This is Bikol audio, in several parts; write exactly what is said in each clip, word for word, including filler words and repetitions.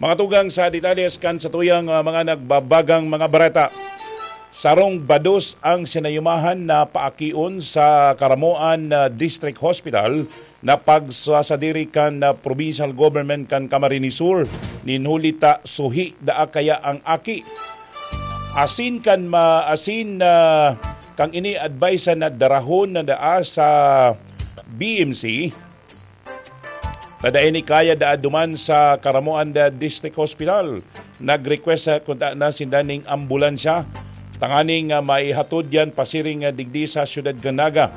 Mga tugang sa detalles kan satuyang, ah, mga nagbabagang mga bareta. Sarong bados ang sinayumahan na paakion sa Caramoan, ah, District Hospital na pagsasadiri kan, ah, provincial government kan Camarines Sur. Nin huli ta suhi daa kaya ang aki. Asin kan ma-, asin na kang ini advice na darahon na daa sa B M C. Kada ini kaya daa duman sa Caramoan da District Hospital. Nag-request sa kunta na sinda ning ambulansya tanganing, ah, maihatod yan pasiring, ah, digdi sa siyudad kan Naga.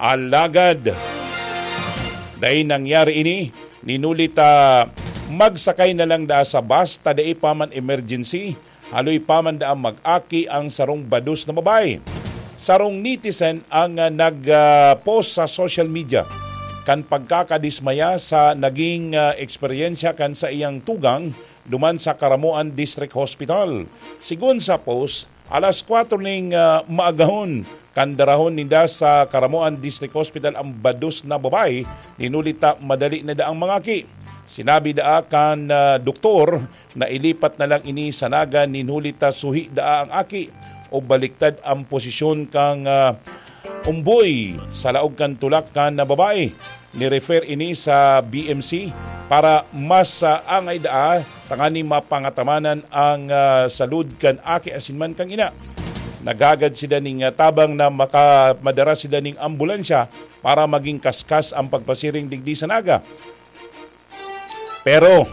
Alagad, dai nangyari ini, ninuli ta magsakay na lang daa sa bus ta dai pa man emergency. Haloy pa man daa mag-aki ang sarong bados na babae. Sarong netizen ang, ah, nag, ah, post sa social media kan pagkakadismaya sa naging, ah, eksperyensya kan saiyang tugang duman sa Caramoan District Hospital. Sigon sa post, alas kwatro ning, ah, maagahon kan darahon ninda sa Caramoan District Hospital ang bados na babae, ninuli ta madali na daang mangaki. Sinabi daa kan, ah, doktor na ilipat na lang ini sa Naga nin huli ta suhi daa ang aki o baliktad ang posisyon kan, ah, umboy sa laog kan tulak kan babae. Ni-refer ini sa B M C para mas, ah, angay daa tanganing mapangatamanan ang, ah, salud kan aki asin man kan ina. Naghagad sila ning, ah, tabang na maka-, madara sila ning ambulansya para magin kaskas ang pagpasiring digdi sa Naga. Pero,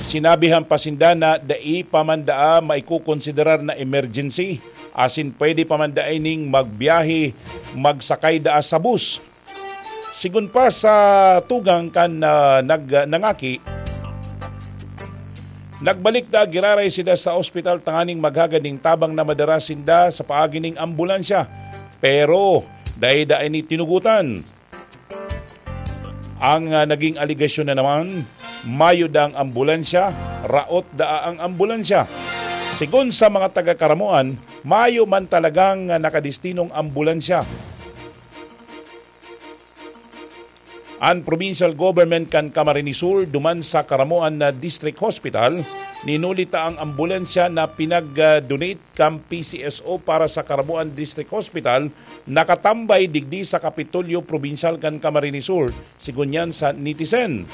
sinabihan pa sinda na dai pa man daa maikokonsiderar na emergency, asin pwede pa man daa ining magbiyahe, magsakay daa sa bus. Sigon pa sa tugang kan, ah, nag-, nangaki, nagbalik daa giraray sinda sa ospital tanganing maghagad ning tabang na madara sinda sa paagi ning ambulansya. Pero, dai daa ini tinugotan. Ang, ah, naging alegasyon na naman, mayo daang ambulansya, raot daa ang ambulansya. Sigon sa mga taga-Caramoan, mayo man talagang, ah, nakadestinong ambulansya. An provincial government kan Camarines Sur duman sa Caramoan na District Hospital, ninuli ta ang ambulansya na pinag-donate kan P C S O para sa Caramoan District Hospital nakatambay digdi sa Kapitolyo Probinsyal kan Camarines Sur, sigon yan sa netizen.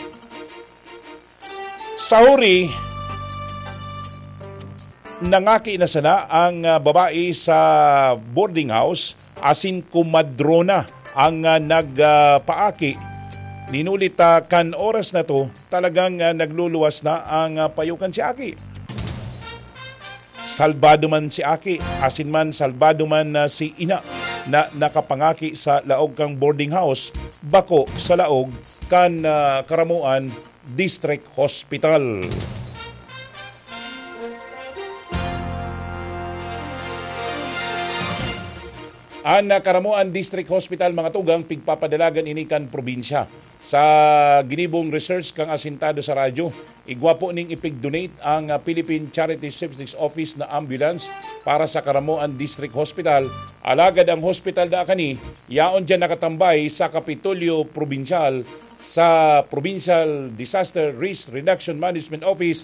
Sa huri, nangaki na sana ang, ah, babae sa boarding house asin komadrona ang, ah, nag, ah, paaki. Ninuli ta kan oras na to, talagang, ah, nagluluwas na ang, ah, payo kan si aki. Salbado man si aki, asin man salbado man na si ina na nakapangaki sa laog kan boarding house, bako sa laog kan, ah, Caramoan District Hospital. An, ah, Caramoan District Hospital, mga tugang, pigpapadalagan ini kan probinsya. Sa ginibong research kan asintado sa radyo, igwa po ning ipig-donate ang, ah, Philippine Charity Services Office na ambulance para sa Caramoan District Hospital. Alagad ang hospital na kani, yaon dyan nakatambay sa Kapitolyo Probinsyal sa Provincial Disaster Risk Reduction Management Office